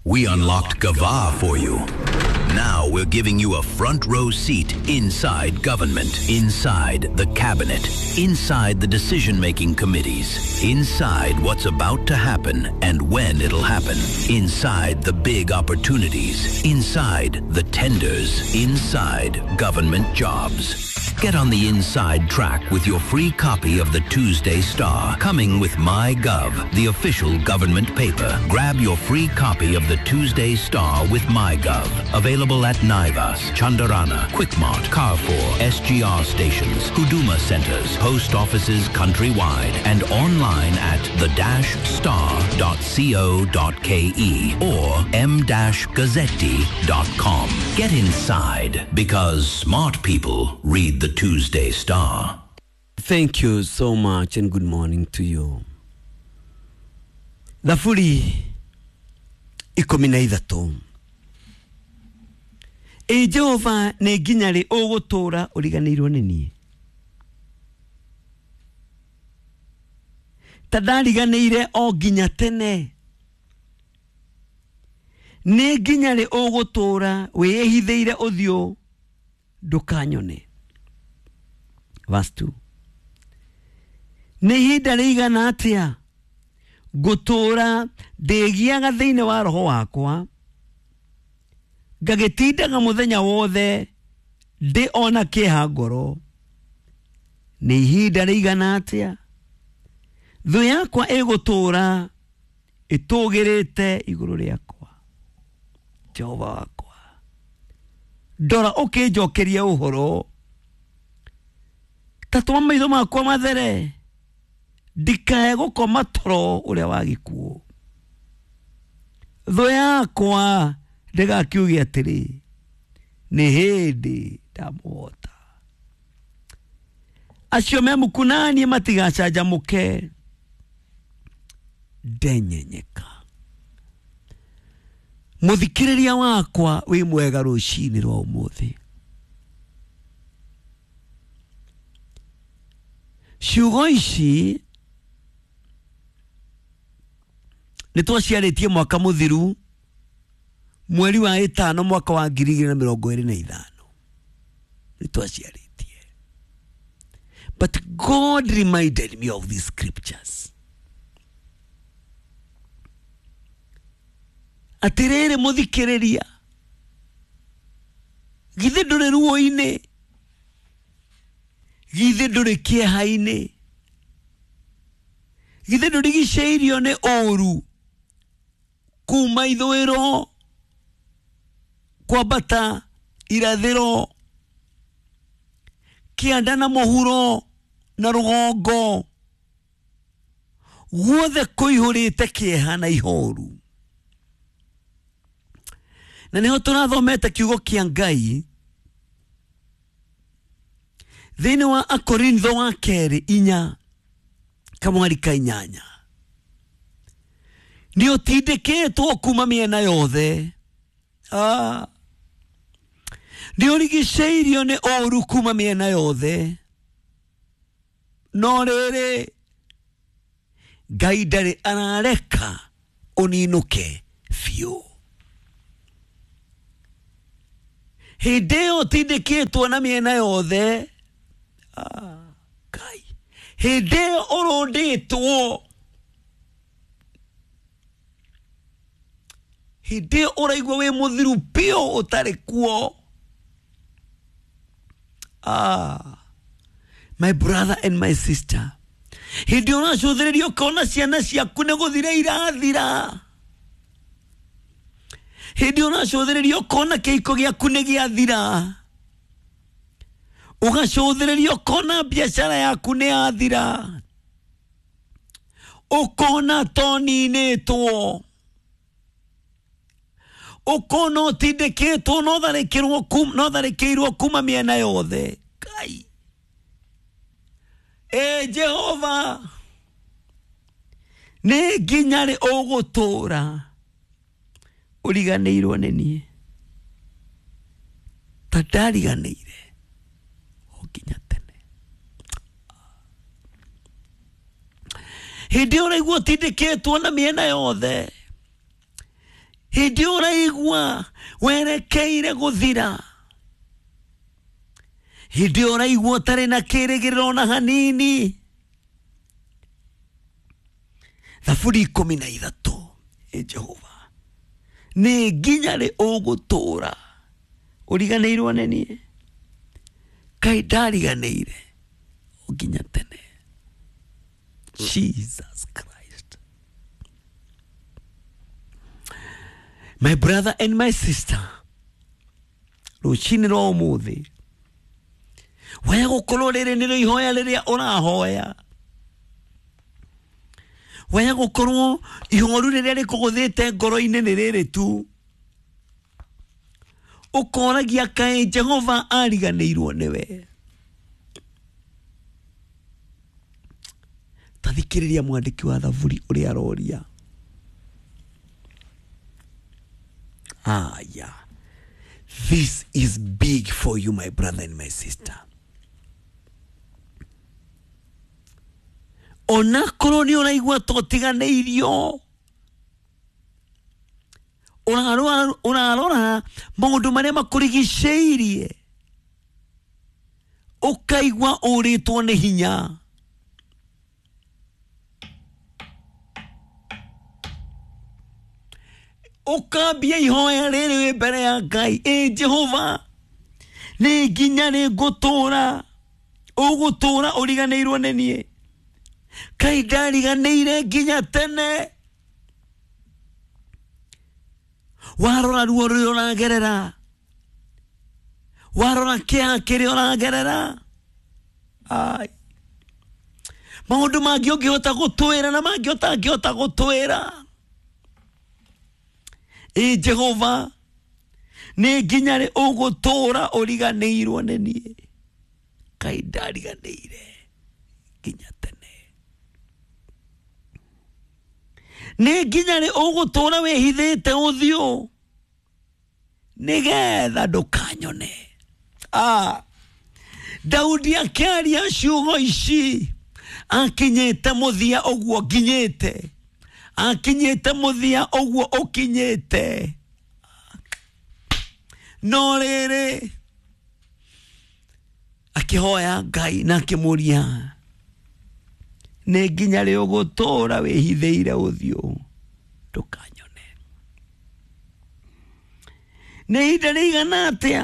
We unlocked Gava for you. Now we're giving you a front row seat inside government, inside the cabinet, inside the decision making committees, inside what's about to happen and when it'll happen, inside the big opportunities, inside the tenders, inside government jobs. Get on the inside track with your free copy of the Tuesday Star, coming with MyGov, the official government paper. Grab your free copy of the Tuesday Star with MyGov. Available at Naivas, Chandarana, Quickmart, Carrefour, SGR stations, Huduma centers, post offices countrywide, and online at the-star.co.ke or m-gazzetti.com. Get inside because smart people read the Tuesday Star. Thank you so much and good morning to you. Thaburi 13. Ĩ Jehova, nĩ nginya rĩ ũgũtũũra ũriganĩirwo nĩ niĩ? Ta ndariganĩire o nginya tene. Nĩ nginya rĩ ũgũtũũra wĩĩhithĩire ũthiũ ndũkanyone? Verse 2. Nĩ ihinda rĩigana atĩa ngũtũũra ndĩgiaga thĩinĩ wa roho wakwa, ngagĩtindaga mũthenya wothe ndĩ ona kĩeha ngoro? Nĩ ihinda rĩigana atĩa thũ yakwa ĩgũtũũra ĩtũgĩrĩte igũrũ rĩakwa? Jehova wakwa, ndora ũkĩnjokeria ũhoro, ta tũma maitho makwa mathere, ndikae gũkoma toro ũrĩa wa gĩkuũ. Thũ yakwa ndĩgakiuge atĩrĩ, nĩ hĩndĩ ndamũhota. Acio me muku naniĩ matigacanjamũke, ndenyenyeka. Mũthikĩrĩria wakwa wĩ mwega rũcinĩ rwa ũmũthĩ. Ciugo ici nĩ twaciarĩtie mwaka mũthiru, mweri wa 5 mwaka wa 2025. Nĩ twaciarĩtie. But God reminded me of these scriptures. Atĩrĩrĩ mũthikĩrĩria, githĩ ndũrĩ ruo-inĩ? Githĩ ndũrĩ kĩeha-inĩ? Githĩ ndũrigicĩirio nĩ ũũru kuma ithũĩro kwambata irathĩro, kĩanda na mũhuro na rũgongo, guothe kũihũrĩte kĩeha na ihoru? Na nĩho tũrathomete kiugo kĩa Ngai thĩinĩ wa Akorintho wa kerĩ 4 kamwari ka 8. Nĩ ũtindĩkĩtwo kuma mĩena yothe, nĩ ũrigicĩirio nĩ ũũru kuma mĩena yothe, no rĩrĩ Ngai ndarĩ arareka ũninũke biũ. Hĩndĩ ĩyo ũtindĩkĩtwo na mĩena yothe, Ngai, hĩndĩ ĩyo ũrũndĩtwo, hĩndĩ ĩyo ũraigua wĩ mũthiru biũ ũtarĩ kuo. My brother and my sister, hĩndĩ ĩyo ũracũthĩrĩria ũkona ciana ciaku nĩ gũthira irathira, hĩndĩ ĩyo ũracũthĩrĩria ũkona kĩhiko gĩaku nĩ gĩathira, ũgacũthĩrĩria ũkona biacara yaku nĩ yathira, ũkona toninĩtwo, ũkona ũtindĩkĩtwo no tharĩkĩirwo kuma mĩena yothe. Ngai, ĩ Jehova, nĩ nginya rĩ ũgũtũũra ũriganĩirwo nĩ niĩ? Ta ndariganĩire o nginya tene. Hĩndĩ ĩyo ũraigua ũtindĩkĩtwo na mĩena yothe, hĩndĩ ĩyo ũraigua werekeire gũthira, hĩndĩ ĩyo ũraigua ũtarĩ na kĩrĩgĩrĩro ona hanini. Thaburi 13. Ĩ Jehova, nĩ nginya rĩ ũgũtũra ũriganĩirwo nĩ niĩ? Kaĩ ndariganĩire o nginya tene. Jesus Christ. My brother and my sister, rũcinĩ rwa ũmũthĩ waya gũkorwo rĩrĩ nĩrĩo ihoya rĩrĩa ũrahoya, waya gũkorwo ihoru rĩrĩa rĩkũgũthĩte ngoro-inĩ nĩ rĩrĩ tu, ũkoragia kaĩ Jehova ariganĩirwo nĩwe. Tathikĩrĩria mwandĩki wa thaburi ũrĩa aroria. Aya, this is big for you, my brother and my sister. Onakorwo nĩ ũraigua ta ũtiganĩirio, ũrarora maũndũ marĩa makũrigicĩirie, ũkaigua ũrĩtwo nĩ hinya. Ũkambia ihoya rĩrĩ wĩ mbere ya Ngai, ĩ Jehova, nĩ nginya rĩ ngũtũra ũgũtũra ũriganĩirwo nĩ niĩ? Kaĩ ndariganĩire nginya tene? Warora ruo rũrĩa ũragerera, warora kĩeha kĩrĩa ũragerera, ai, maũndũ mangĩ ũngĩhota gũtwĩra na mangĩ ũtangĩhota gũtwĩra. Ĩ Jehova, nĩ nginya rĩ ũgũtũra ũriganĩirwo nĩ niĩ? Kaĩ ndariganĩire nginya tene? Nĩ nginya rĩ ũgũtũra wĩhithĩte ũthiũ nĩgetha ndũkanyone? Daudi akĩaria ciugo ici akinyĩte mũthia ũguo nginyĩte, akinyĩte mũthia ũguo ũkinyĩte, no rĩrĩ akĩhoya Ngai na akĩmũria, nĩ nginya rĩ ũgũtũra wĩhithĩire ũthiũ ndũkanyone? Nĩ ihinda rĩigana atĩa